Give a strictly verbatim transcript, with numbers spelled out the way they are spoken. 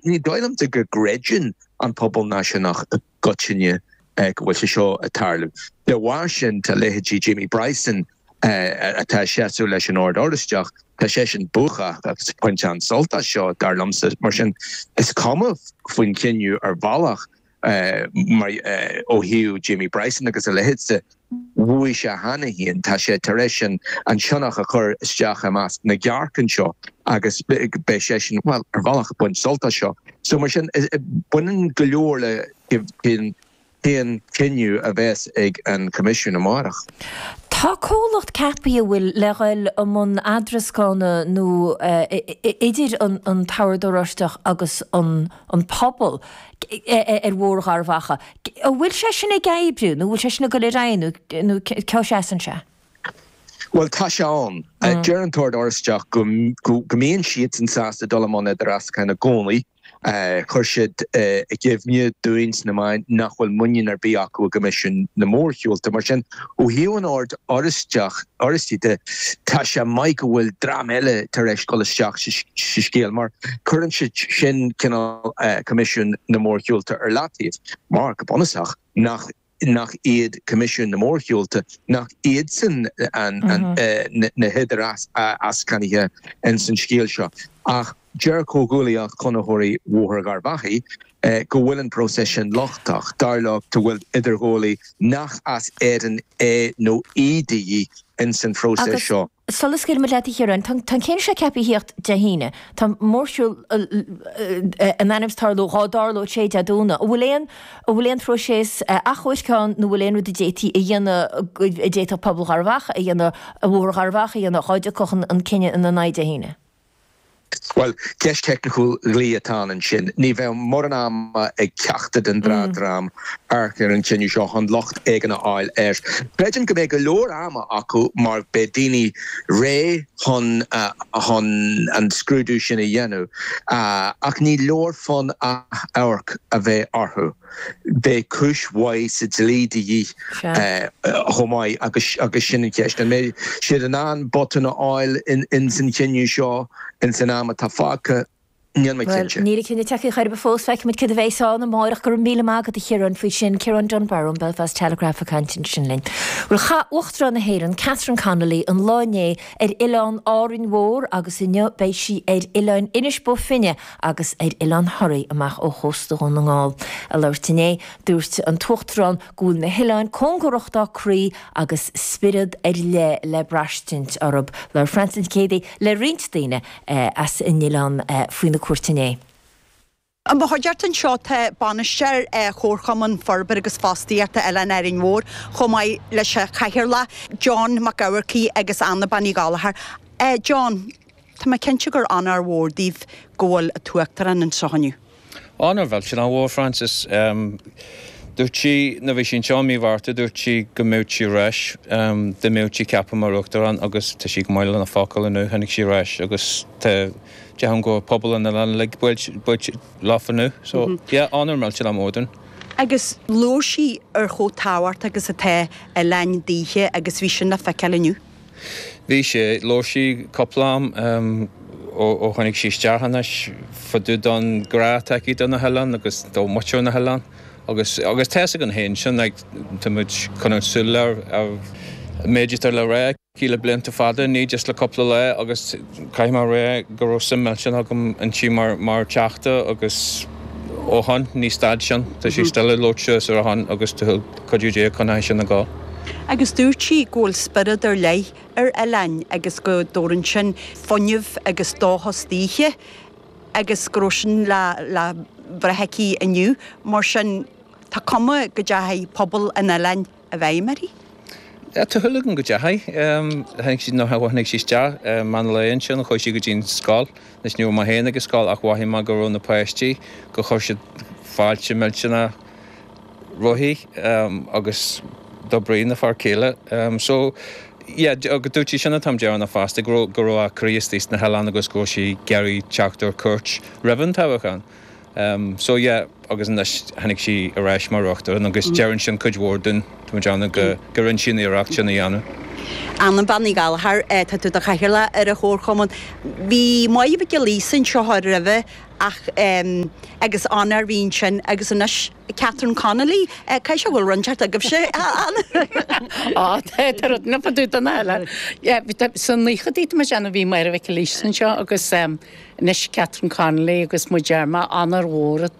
Ní dóigh liomsa go gcreideann an pobal náisiúnach i gcoitinne go bhfuil sé seo ag tarlú. De bharr sin tá leithéidí Jamie Bryson atá ag seasamh leis an Ord Oráisteach, tá seisean buartha agus pointe an-sult as seo dar liomsa. Mar sin is cuma faoin chinneadh ar bhealach mar ó thaobh Jamie Bryson agus a leithéid de, bhuaigh sé cheana féin, tá sé tar éis an sionnach a chur isteach i measc na gcearc anseo agus beidh seisean, bhuel, ar bhealach ag baint sult as seo. So mar sin, baineann go leor le cén cinneadh a bheas ag an Coimisiún amárach. Tá comhlacht ceaptha a bhfuil le dhul i mbun eadrascána nó idir an tOrd Oráisteach agus an pobal ar Bhóthar Gharbh Achaidh. An bhfuil sé sin ag oibriú nó an bhfuil sé sin ag dul ar aghaidh nó cá seasann sé? Bhuel, tá sé ann. Deir an tOrd Oráisteach go mbíonn siadsan sásta dul i mbun idirmheascáin i gcónaí. Chuir siad i gcuimhne dúinn sna meáin nach bhfuil muinín ar bith acu i gCoimisiún na Mórshiúlta. Mar sin, ó thaobh an Oird Oráisteach, Oráistigh de, tá sé maith go bhfuil dream eile tar éis dul isteach sa scéal mar cuireann sé sin cineál Coimisiún na Mórshiúlta ar leataobh mar, go bunúsach, nach nach iad Coimisiún na Mórshiúlta, nach iadsan na hidirmheascánaithe ins an scéal seo. Ach deir Comhghuaillíocht Chonraitheoirí Bhóthar Gharbh Achaidh go bhfuil an próiseas sin lochtach. Dar leo go bhfuil idirghabhálaí nach as Éirinn é nó í de dhíth ins an phróiseas seo. Sula scaoilfimid leat a Chiaráin, tá an cinneadh seo ceaptha a thíocht Dé hAoine. Tá mórshiúl in ainm is tarlú, dhá dtarlódh sé Dé Domhnaigh. An bhfuil aon, an bhfuil aon phróiseas achomhairc ann nó an bhfuil aon rud a d'fhéadfaí a dhéanamh, a d'fhéadfadh pobal Gharbh Achaidh a dhéanamh, Bhóthar Gharbh Achaidh a dhéanamh dhá dtiocfadh an cinneadh ina n-aghaidh Dé hAoine? Bhuel, ceist theicniúil dhlí atá ann ansin. Ní bheidh mórán ama ag ceachtar den dá dhream amharc ar an chinneadh seo chun locht éigin a fháil air. Creidim go mbeidh go leor ama acu mar beidh daoine réidh chun chun an scrúdú sin a dhéanamh. Ach ní leor fonn achomharc a bheith orthu. Beidh cúis mhaith sa dlí de dhíth chomh maith agus agus sin an cheist. An mbeidh siad in ann botún a fháil ins an chinneadh seo ins an am atá fágtha? Níl mé Bhuel, cinnte. níl an cinneadh tagtha chor ar bith fós. Feicfimid céard a bheas ann amárach. Go raibh míle maith agat a Chiaráin faoi sin. Ciarán Dunbar ón Belfast Telegraph ag caint ansin linn. Bhuel, chaith Uachtarán na hÉireann, Catherine Connolly, an lá inné ar oileán Árainn Mhór agus inniu beidh sí ar oileáin Inis Bó Finne agus ar Oileán Thoraí amach ó chósta Dhún na nGall. Ag labhairt inné, dúirt an tUachtarán go bhfuil na hoileáin cóngarach dá croí agus spiorad ar leith le braistint orthu. Labhair Frances Nic Géadaigh le roinnt daoine as an oileán faoina cuairt inné. I mo chuideachta anseo tá bainisteoir Chomharchumann Forbartha agus Fostaíochta Oileán Árainn Mhór, chomh maith leis an chathaoirleach, John Mac Eamharcaigh agus Anna Bean Uí Ghallchóir. John, Tá mé cinnte gur onóir mhór daoibh go bhfuil an tUachtarán anseo inniu. Onóir mhillteanach mhór, Frances. Dúirt sí, nuair a bhí sí anseo i mí Mhárta, dúirt sí go mbeadh sí ar ais dá mbeadh sí ceaptha mar Uachtarán agus tá sí go maith lena focal inniu, tháinig sí ar ais agus tá, déarfainn go bhfuil pobal an oileáin uilig buailte leofa inniu. So, yeah, onóir mhillteanach mhór dúinn. Agus labhair sí ar chomh tábhachtach agus atá oileáin daoithe agus bhí sin le feiceáil inniu. Bhí sé. Labhair sí cúpla am ó tháinig sí isteach anois fá dtaobh don ghrá atá aici do na hoileáin agus do mhuintir na hoileán agus agus tá fhios againn féin sin like tá muid coinneáil súil ar ar an méid atá le rá aici le blianta fada ní just le cúpla lá agus caithfidh mé a rá go raibh suim millteanach agam inti mar mar teachta agus ó shoin ní stad sin tá sí still ag labhairt suas ar a shon agus tá cuidiú Dé coinneoidh sin ag gabháil. Agus dúirt sí go bhfuil spiorad ar leith ar oileáin agus go dtabharann sin fuinneamh agus dóchas daoithe agus go raibh sin le le brath aici inniu. Mar sin, tá cuma go dteachaidh pobal an oileáin i bhfeidhm uirthi. Tá súil agam go dteachaidh. Tháinig sí, nuair a tháinig sí isteach meán lae ansin, chuaigh sí go dtí an scoil. Anois ní raibh mé féin ag an scoil ach mhothaigh mé go raibh na páistí, go chuir siad fáilte millteanach roimpi agus do Bríd a fear céile. So yeah, agus dúirt sí sin an t-am deireanach fosta, go raibh, go raibh a croí istigh sna hoileáin agus go raibh sí ag iarraidh teacht ar cuairt roimh an toghchán. So yeah, agus anois tháinig sí ar ais mar uachtarán agus deireann sin cuid mhór dúinn, tá muid ann go, go rinne sí an iarracht sin a dhéanamh. Anna Bean Ní Ghallchóir, tá tú i do chathaoirleach ar an chomharchumann. Bhí Máire Mhic Giolla Íosa anseo roimhe ach agus Honor bhí ansin agus anois Catherine Connolly, caithfidh sé go bhfuil rud inteacht agaibhse, Anna? Á, tá rud na fadú don eile. Sna naochadaí tá mé ag déanamh bhí Máire Mhic Giolla Íosa anseo agus anois Catherine Connolly agus muid ar ma Honor mhór